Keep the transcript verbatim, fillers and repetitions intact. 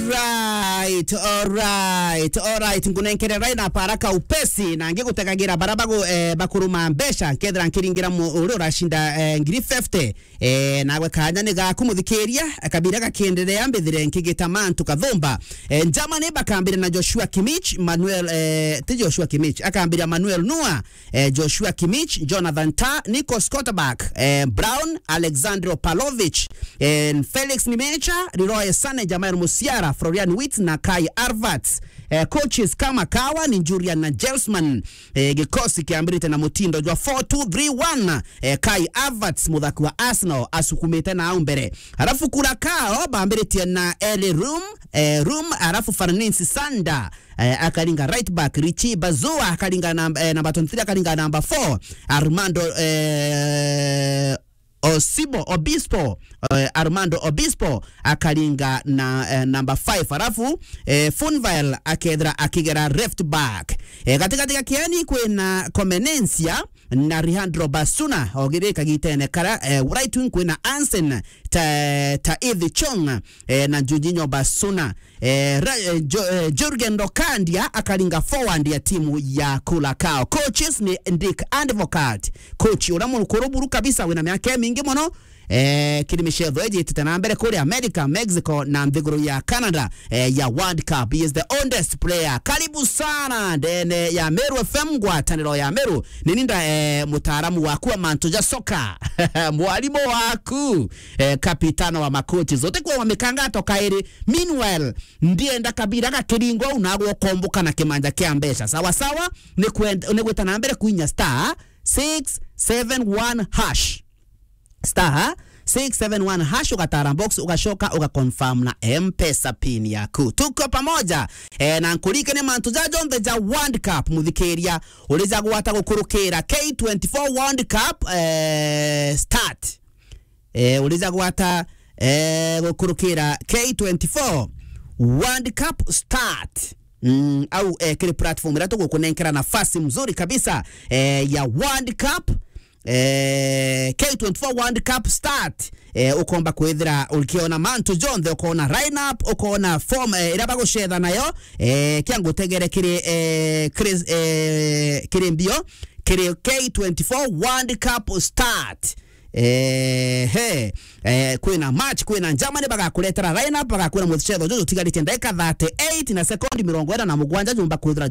Alright, alright, alright. Nkunenkere line up haraka upesi, na ngigutekagira bara bagu-, eh, bakuruma mbeca, nkethira nkiringira mu-, uria uracinda, eh, ngiri fifty. Eh, nawe kanya ni gaku muthikiria, kabira gakienderea mbithire nkigita mantu kathumba. Eh, Germany bakambire na Joshua Kimmich, Manuel, eh, ti Joshua Kimmich, akambira Manuel Neuer, eh, Joshua Kimmich, Jonathan Tah, Nico Scotterback, eh, Brown, Alexandro Pavlovic, eh, Felix Nmecha, Leroy Sané, Jamal Musiala, Florian Wirtz na Kai Havertz. Eh, coaches kama Kawa ni Julian Nagelsmann. Eh, gikosi kiambirite na mutindo jwa four two three one. Eh, Kai Havertz, muthaki wa Arsenal, asukumite na au mbere. Alafu Curacao bambiritie na Eli Room, eh, Room, alafu Farnins Sander, eh, akaringa right back, Richie Bazua akaringa namba, eh, namba twenty-three, akaringa namba four, Armando, eh, Osimo Obispo, eh, Armando Obispo akaringa na, eh, namba five. Alafu, eh, Funvael akethira akigera left back. Eh, gatigati ga kieni kwina Comenencia na Alejandro Bacuna, ogiri kagitene kara, eh, right wing kwina Ansen Ta-, Taithi Chong, eh, na Jorginho Bacuna. Eh, ra-, eh, Jo-, eh, Jurgen Lokandia akaringa forward ya timu ya Curacao. Coaches ni Dick Advocaat. Coach uria mukuru buru kabisa, wina miaka imingi mono, eh, kiri micetho iji itite na mbere kuri America, Mexico na nthiguru ya Canada, eh, ya World Cup. He is the oldest player. Karibu sana ndene ya Meru F M, ngwataniro ya Meru. Ni ninda, eh, mutaaramu waku wa mantu ja soka. Mwarimu waku, eh, kapitano wa makochi zote kwa wamekanga toka iri. Meanwhile, ndienda kabira gakiringwa au nagwo ukomboka na kimanja kia mbeca. Sawa sawa, ni kwenda, ni gwita na mbere kuinya star six seven one hash. Star six seven one hash, ugatara box, ugacoka ugaconfirm na M-Pesa pin yaku. Tuko pamoja, eh, na nkuririkanie mantu ja jonthe ja World Cup, muthikiria, urija gwata gukurukira K twenty-four World Cup, eh, start. Eh, urija gwata, eh, gukurukira K twenty-four World Cup start. Mm, au, eh, kiri platform iria tugukunenkera nafasi mzuri kabisa, eh, ya World Cup, eh, K twenty-four World Cup start. Eh, ukomba kwithira ukiona mantu jonthe, ukona lineup, ukona form, eh, iria bagucetha nayo, eh, kia ngutegere kiri, eh, kiri, eh, kiri mbio, kiri K twenty-four World Cup start. Eh, he, eh, kwina match, kwina Germany, bagakuretera lineup, bagakwira mucetho juju utigarite ndagika thirty-eight na sekondi mirongo ina na mugwanja jumba kwithira